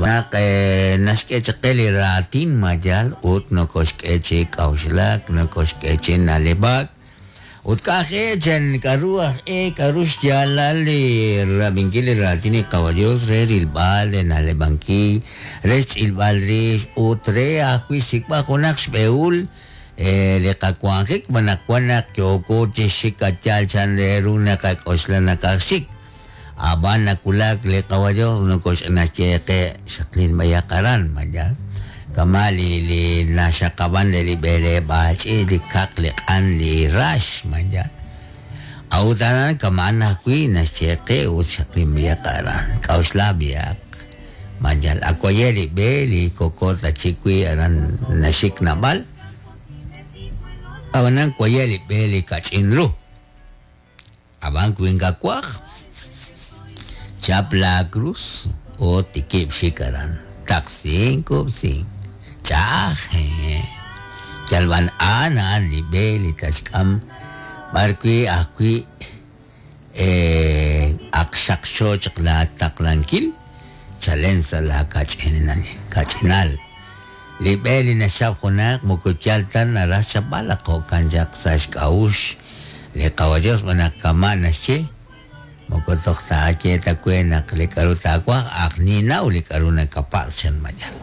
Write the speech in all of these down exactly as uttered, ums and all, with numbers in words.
Naq naxk'e chaq qe li raatin mayal ut nokoxk'e chi k'a'uxlak, nokoxk'e chi na'leb'ak ut k'aj e chan k'aru aj e k'aru xyaalal li rab'inkil li raatin li Qawa Dios re rilb'al re na'leb'ankil re xch'ilb'al rix ut re ajwi' xsik'b'al junaq xb'ehul li qawanjik naq wan naq yooko chi xik ayal chan re ru naqak'oxla naqaj xik ab'an nawulak li Qawa Dios nokoxnaxye qe xaqlin b'ayaq aran mayal kama' li li naxaqab'an re li b'eleb'aal ch'iich' li kaq li q'an li rax mayal a'ut aran kama'an ajwi' naxye qe ut xaqlin b'ayaq aran k'a'uxla b'ayaq mayal akwaye li b'e li kokot achik wi' aran naxik nab'al ab'anan kwaye li b'e li kach'in ru ab'an wi ink'awaj chap la cruz o tikib' xik aran taqsin kub'sin ch'a'aj yalb'an a'an a'an li b'e li taxk'am b'ar wi' ajwi' ak xaqxo chaq la taqlankil chalen sa' la kach'inal kach'inal li b'e li naxchap junaq moko yal ta naraj xchapb'al jo'kan chaq sa' xk'a'uxl li Qawa Dios b'anaq kama' naxye moko toj taaye ta we naq li k'aru taawaj aj ninaw li k'aru nakapatz' chan mayal.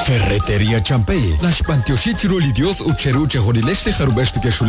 Ferretería Champey, naxb'antioxi chiru li Dios ut cheru chejunilex li jarub'ex neke'xulak.